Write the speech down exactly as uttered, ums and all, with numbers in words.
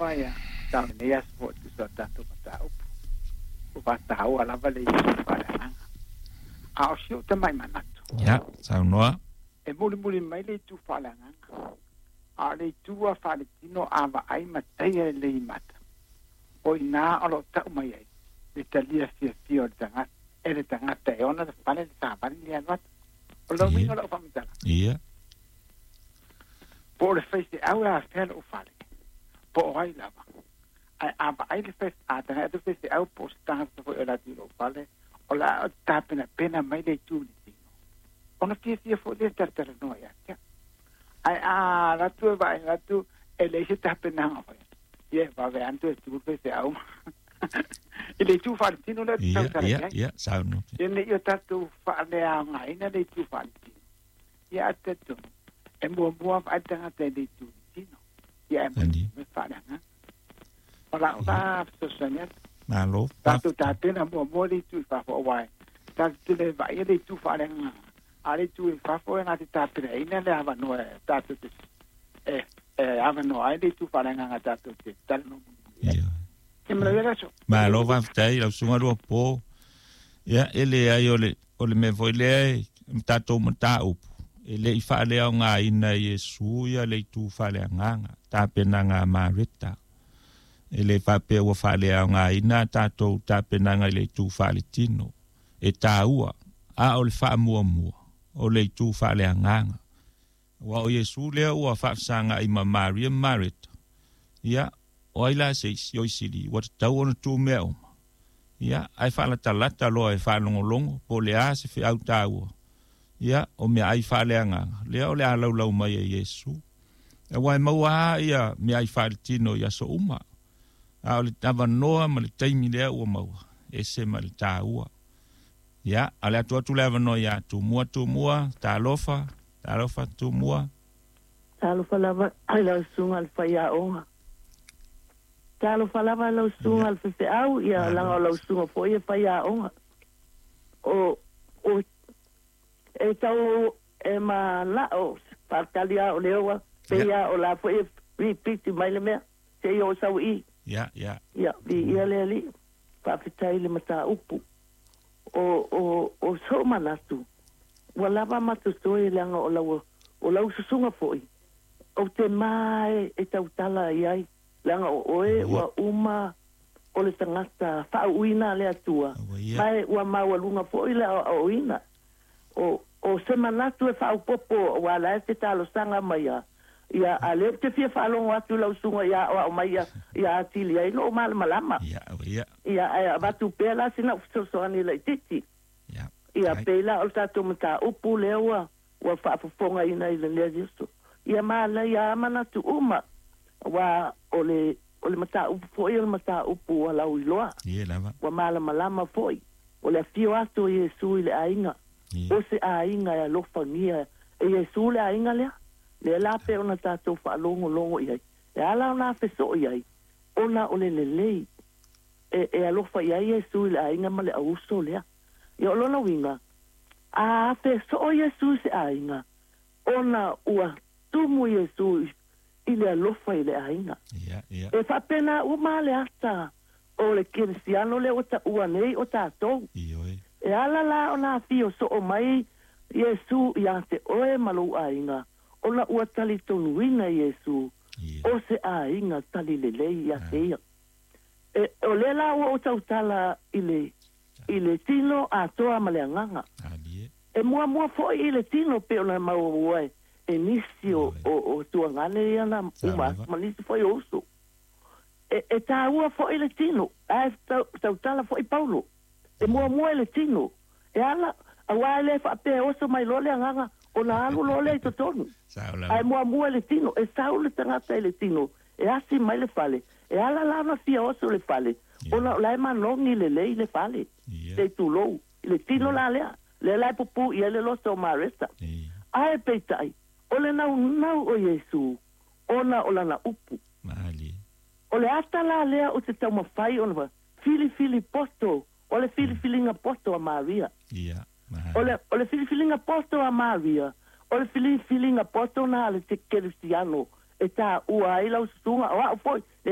lava ia tau lenei aso foi e tusa o tatou mataupu. Ua faataua lava le itu faaleagaga. A o si ou tamai manatu. Ia, saunoa. E mulimuli mai le itu faaleagaga. A o le itu lava faaletino a vaai ma taia lelei i mata. O i ina o lo o tau mai ai le talia fiafia o le tagata e le tagata e ona le fale le savali le alu atu. O le uiga o lau faamatalaga. Ia. Po o le faifeau e afea lou fale, po o ai lava. Ae a vaai le fai, a tagai atu le faifeau po o se tagata foi o le atu i lou fale, o le a tapenapena mai le itu i le tino, ona fiafia foi lea e talatalanoa ia te au. Ae a alu atu e vaai atu e leai se tapenaga foi, ia e vave lava ona toe tu le faifeau ma i le itu faaletino lea ou te Ia, tautala i ia, ai. ia, saunoa. Ia ne i o tatou faaleaogaina le itu faaletino, ia ae talitonu e muamua vaai le tagata i le itu i le tino, ia ae Ali. mulimuli faaleagaga. O lau la fesoasoani atu. Malo, Tatou faafetai. tapena muamua le itu i fafo aua e tatou te le vaaia le itu faaleagaga, a o le itu i fafo e na te tapenaina le avanoa e tatou te e e avanoa ai le itu faaleagaga tatou te talanoa mulimuli ai. Ia. Ia manuia le aso. Malo faafetai lau susuga Luapo. Ia, e leai o le o le mea foi lea e tatou mataupu e le i faaleaogaina e Iesu ia le itu faaleagaga, tapenaga a Mareta. E le faapea ua faaleaogaina a tatou tapenaga i le itu faaletino. E taua, a o le faamuamua o le itu faaleagaga. Aua o Iesu lea ua faafesagai ma Maria ma Mareta. Ia, o ai la se isi o isili ua tatau ona tu mea uma. Ia, ae faalatalata loa e faalogologo po o le a se feau taua. Ia, o meaai faaleagaga lea o le a laulau mai e Iesu. Aua e maua lava ia meaai faaletino i aso uma, a o le avanoa ma le taimi lea ua maua, ese ma le taua. Ia, a o le atu atu le avanoa ia Tumua, Tumua, talofa, talofa Tumua. Talofa lava i lau susuga i le faiaoga. Talofa lava i lau susuga i le faifeau, ia leaga o lau susuga foi e faiaoga. O, o, e tau e manao faatali a o lea ua pei a o la foi e repeat mai le mea seia oo sau i. Ia, ia. Ia, viia le Alii, faafetai i le mataupu. O, o, o sou manatu, ua lava matotoe leaga o lau, o lau susuga foi, ou te ma e, e tautala i ai, leaga o oe ua uma o le tagata faauuina a le Atua, ma e ua maualuga foi le aoaoina. O, o se manatu e faaopoopo aua la e te talosaga mai a, ia, a lea ou te fia faalogo atu i lau susuga ia aoao mai ia, ia atili ai lou malamalama. Ia, ia. Ia, ae avatu pea la sina fesoasoani laitiiti. Ia. Ia, pei la o le tatou mataupu lea ua, ua faafofogaina i lenei aso. Ia manaia a manatu uma, aua o le, o le mataupu foi o le mataupu ua lauiloa. Ia lava. Ua malamalama foi. O le afio atu o Iesu i le aiga, Ia. o se aiga e alofagia e Iesu le aiga lea. Lea la pei ona tatou faalogologo i ai, e ala ona afesoo i ai, ona o le lelei e, e alofa i ai Iesu i le aiga ma le auuso lea. Ia o lona uiga, a afesoo Iesu i se aiga, ona ua tumu Iesu i le alofa i le aiga. Ia, ia. E faapena uma le ata o le kerisiano lea ua taua nei o tatou. Ioe. E ala la ona afio soo mai Iesu ia te oe ma lou aiga, ona ua talitonuina Iesu Ia. o se aiga talilelei ia te ia. E, o lea la ua ou tautala i le, i le tino atoa ma le agaga. Alie. E muamua foi i le tino pei ona maua e, e nisi o, Ioe. o, o tuagane ia na Sa uma lava. atu ma nisi foi o uso. E, e taua foi le tino, ae tau, tautala foi Paulo. E muamua i le tino, e ala, aua e le faapea e oso mai loa le agaga, ona alu loa lea i totonu. Sao lava. Ae muamua i le tino, e sau le tagata i le tino, e asi mai le fale, e ala la ona fia oso le fale, Ia. ona o la e manogi lelei le fale, Ia. se i tulou, i le tino la lea, lea la e pupuu i ai le loto o Mareta. Ia. Ae peitai, o le naunau o Iesu, ona o lana upu. Malie. O le ata la lea o te taumafai ona filifili poto, o le filifiliga poto a Maria. Ia, malie. O le, o le filifiliga poto a Maria, o le filifiliga poto na a le kerisiano e taua ai lau susuga, o au foi, le